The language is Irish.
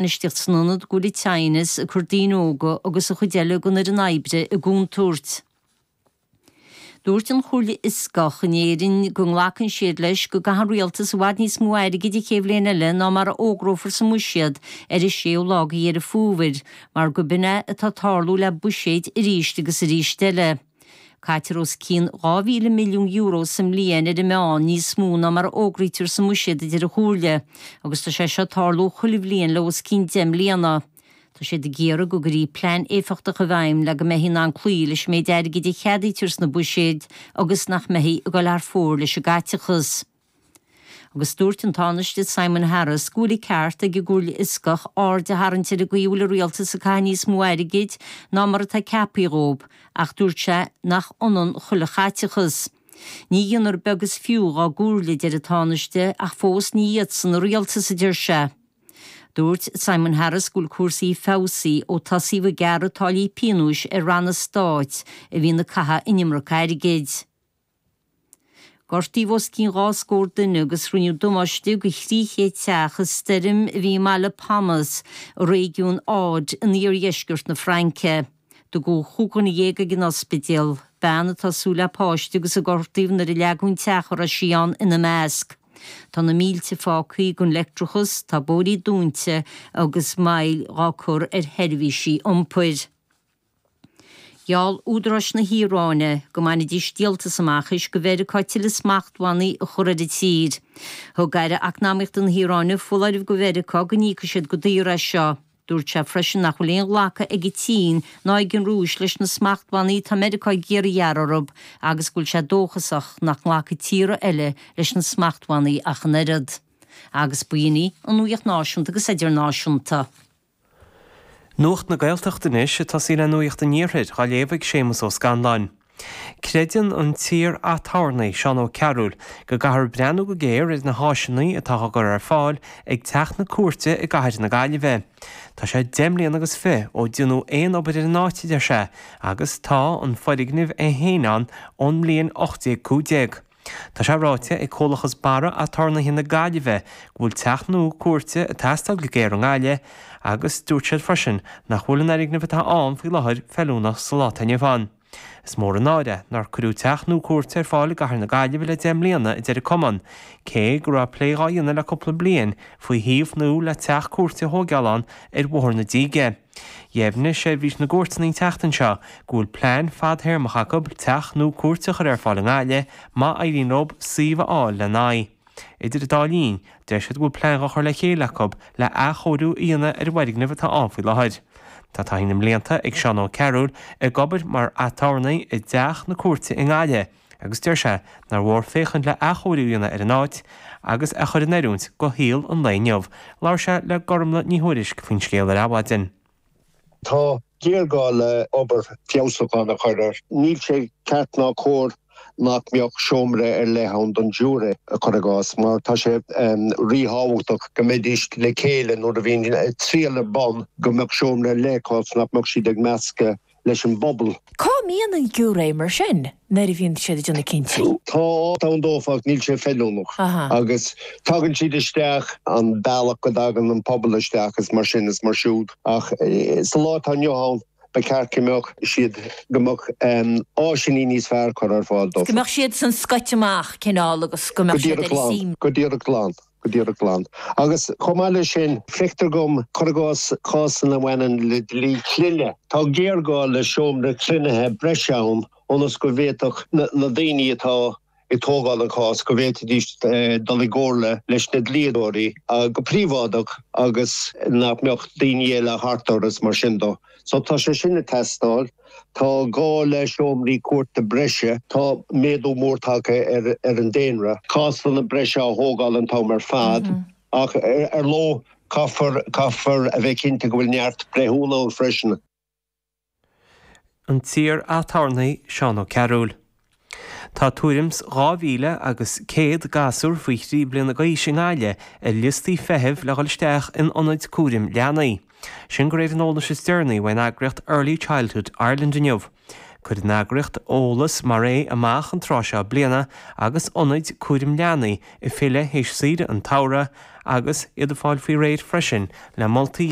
Bainistíocht san ionad go bhfuil an tinneas ag cur daoine óga agus an chuid eile den fhoireann oibre i gcontúirt. Dúirt an Chomhairle Fhioscach in Éirinn go nglacann siad leis go gcaithfidh an Rialtas i bhfad níos mó airgid an chéad bhliain eile ná mar a fhógrófar sa mBuiséad ar an séú lá de Dheireadh Fómhair mar go b'in é atá ag tarlú le buiséid arís agus arís eile. Caitear os cionn €2,000 milliún sa mbliain ar an meán, níos mó ná mar a fhógraítear sa mbuiséad, a deir an Chomhairle, agus tá sé seo ag tarlú chuile bhliain le os cionn 10 mbliana. Tá siad ag iarraidh go gcuirfí plean éifeachtach i bhfeidhm le go mbeifí in ann cloí leis an méid airgid a cheadaítear sna buiséid agus nach mbeifí ag dul thar fóir leis an gcaiteachas. Agus dúirt an Tánaiste Simon Harris go bhfuil an ceart ag an gComhairle Fhioscach aird a tharraingt ar an gcaoi a bhfuil an rialtas ag caitheamh níos mó airgid ná mar atá ceaptha dhóibh, ach dúirt sé nach ionann chuile chaiteachas. Ní dhéanfar beag is fiú dhá gcomhairle, a deir an Tánaiste, ach fós ní iadsan an rialtas, a deir sé. Dúirt Simon Harris go bhfuil cúrsaí feabhsaithe ó tosaíodh ag gearradh táillí pionóis ar ranna stáit a bhíonn ag caitheamh an iomarca airgid. Gortaíodh os cionn 2 scór duine agus rinneadh damáiste do 300 teach i stoirm a bhí i mbaile Pomos i réigiún Aude in iardheisceart na Fraince. Tugadh 15 dhuine ag an ospidéal, bean atá ag súil le páiste agus a gortaíodh nuair a leagadh an teach a raibh sí ann ina measc. Tá na mílte fágtha gan leictreachas, tá bóithrí dúnta agus moill dhá cur ar sheirbhísí iompair. Gheall údaráis na hIaráine go mbainfidís díoltas amach théis do Mheiriceá tuilleadh smachtbhannaí a chur ar an tír. Thug Aire Eacnamaíochta na hIaráine foláireamh do Mheiriceá go n-íocfaidh siad go daor as seo. Dúirt sé freisin nach bhfuil aon ghlacadh ag an tSín ná ag an Rúis leis na smachtbhannaí atá Meiriceá ag iarraidh a ghearradh orthu agus go bhfuil sé dóchasach nach nglacfaidh tíortha eile leis na smachtbhannaí ach an oiread. Agus b'in í an nuacht náisiúnta agus idirnáisiúnta. Nuacht na Gaeltachta anois, ag tosaí le Nuacht an Iarthair, dhá léamh ag Séamus Ó Scanláin. Creideann an t-iar-aturnae, Seán Ó Cearúil, go gcaithfear breathnú go géar ar na háiseanna atá á gcur ar fáil ag Teach na Cúirte i gcathair na Gaillimhe. Tá sé 10 mbliana agus 20 ó deineadh aon obair ar an áit, a deir sé, agus tá an foirgneamh é féin ann ón mbliain 1815. Tá sé ráite ag Comhlachas Barra Aturnaetha na Gaillimhe go bhfuil teach nua cúirte ag teastáil go géar i nGaillimh agus dúirt siad freisin nach bhfuil an fhoirgneamh atá ann faoi láthair feiliúnach sa lá atá inniu ann. Is mór an náire nár cuireadh teach nua cúirte ar fáil i gcathair na Gaillimhe le 10 mbliana, a deir an cumann, cé go raibh plé dhá dhéanamh le cúpla bliain faoi shuíomh nua le teach cúirte a thóigeáil ann ar Bhóthar na Díge. Dheimhnigh Seirbhís na gCúirteanna an tseachtain seo go bhfuil plean fadthéarmach acu teach nua cúirte a chur ar fáil i nGaillimh má éiríonn leo suíomh a fháil lena aghaidh. Idir an dá linn, deir siad go bhfuil plean dhá chur le chéile acu le athchóiriú a dhéanamh ar an bhfoirgneamh atá ann faoi láthair. Tá taithí na mblianta ag Seán Ó Cearúil ag obair mar aturnae i dteach na cúirte i nGaillimh agus deir sé nár mhór féachaint le athchóiriú a dhéanamh ar an áit agus é a chur in oiriúint do shaol an lae inniu. Labhair sé le Gormlaith Ní Thuairisg faoin scéal ar Adhmhaidin. Tá géarghá le obair feabhsúcháin a chur air. Níl sé ceart ná cóir nach mbeadh seomra ar leith ann don ghiúiré, cuir i gcás, mar tá sé ríthábhachtach go mbeidís le chéile nuair a bhíonn triail ar bun, go mbeadh seomra ar leith acu nach mbeadh siad ag meascadh leis an bpobal. Cá mbíonn an giúiré mar sin nuair a bhíonn siad ag déanamh cinntí? Tá áit ann dófa ach níl sé feiliúnach agus tagann siad isteach an bealach go dtagann an pobal isteach is mar sin is mar siúd ach sa lá atá inniu ann ba cheart go mbeadh siad, go mbeadh áiseanna níos fearr curtha ar fáil dófa. Go mbeadh siad san scoite amach cineál agus go mbeadh siad ar a suim. Go díreach glan. Go díreach glan. Agus chomh maith leis sin, feictear dom, cuir i gcás, cásanna a bhaineann le dlí clainne, tá géarghá le seomra cruinnithe breise ann ionas go bhféadfadh na daoine atá ag tógáil an chás, go bhféadfaidís dul i gcomhairle leis na dlíodóirí go príobháideach agus nach mbeadh daoine eile thart orthu is mar sin dó. So tá sé sin ag teastáil. Tá gá le seomraí cúirte breise. Tá méadú mór tagtha ar an daonra. Cásanna breise á thógáil an t-am ar fad ach ar ndóigh caithfear caithfear a bheith cinnte go bhfuil neart breithiúna ann freisin. An t-iar-aturnae Seán Ó Cearúil. Tá tuairim 's 2,000 agus 100 gasúr faoi thrí bliana d'aois i nGaillimh ar liostaí feithimh le dhul isteach in ionaid cúraim leanaí. Sin de réir an eolais is deireanaí uaidh an eagraíocht Early Childhood Ireland inniu. Cuireann an eagraíocht eolas mar é amach an tráth seo bliana agus ionaid cúraim leanaí ag filleadh théis saoire an tsamhraidh. agus iad ag fáil faoi réir freisin le moltaí.